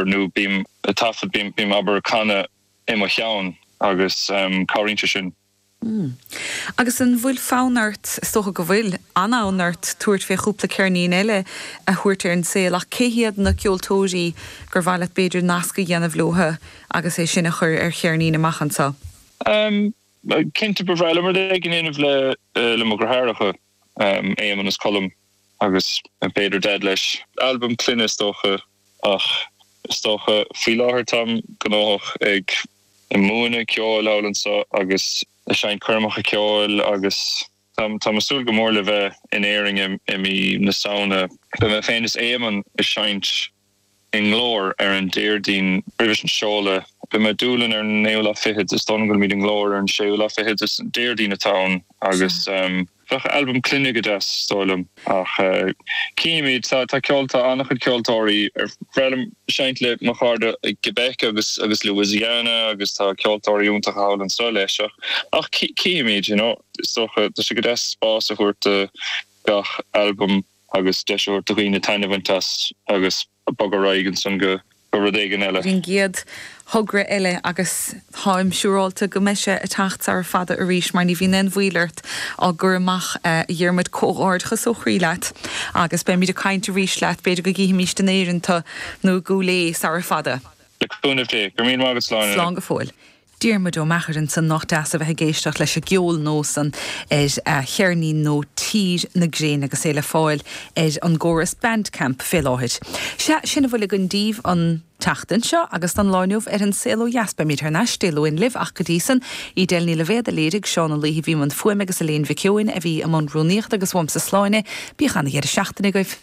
nó bím ag taifead, bím, abair, ag canadh i mo cheann agus cabhraíonn sé sin. Agus an bhfuil fonn ort, is dócha go bhfuil, an-fhonn ort tabhairt fé chúpla ceirnín eile a thabhairt ar an saol ach cé hiad na ceoltóirí gur mhaith leat b'fhéidir nasc a dhéanamh leotha agus é sin a chur ar cheirnín amach anseo? Cinnte ba bhreá liom rud éigin a dhéanamh le le mo dheartháireacha, Éamonn is Colm agus b'fhéidir Daid leis. Albam clainne is dócha ach is dócha faoi láthair táim gnóthach ag múineadh ceoil thall anseo agus ag seinnt coirmeacha ceoil agus táim ag súil go mór le bheith in Éirinn i mí na Samhna. Beidh mé féin is Éamonn ag seinnt i nGlór ar an Déardaoin roimh an seoladh. Beidh mé i Dúlainn ar an naoú lá fichead, is dóigh liom go bhfuilimid i nGlór ar an séú lá fichead, is Déardaoin atá ann agus bheadh albam clainne go deas, is dóigh liom. Ach cífimid, tá ceol, tá an-chuid ceoltóirí, ar bhreá liom seinnt le mo chairde i gQuebec agus agus Louisiana agus tá ceoltóirí iontacha thall anseo leis ach ach cífimid, you know, is dócha, tá sé go deas spás a thabhairt do gach albam. agus deis a thabhairt do dhaoine taitneamh a bhaint as agus bogadh ar aghaidh ansan go rud éigin eile. Ar an gcéad thogra eile agus táim siúráilte go mbeidh sé ag teacht sara fada arís mar ní bhíonn aon mhoill ort á gcur amach a Dhiarmuid. Comhghairdeachas ó chroí leat agus beimid ag caint arís leat, b'fhéidir go gcífimíst in Éirinn tu nó i gCúil Aodha sara fada. Le cúnamh Dé. Go raibh míle maith agat Sláine. Slán go fóill. Diarmuid Ó Meachair ansan, nách deas a bheith ag éisteacht leis an gceol nua san ar a cheirnín nua Tír na Gréine agus é le fáil ar an gcóras Bandcamp fé láthair. Sea, sin a bhfuil againn daoibh an tseachtain seo agus don lá inniu ar An Saol Ó Dheas. Beimid thar n-ais Dé Luain libh ach go dtí san, Edel Ní Loibhéad a léirigh, Seán Ó Laoithe a bhí i mbun fuaime agus Elaine Mhic Eoin a bhí i mbun rúnaíochta agus uaimse Sláine. Bíodh ana-dheireadh seachtaine agaibh.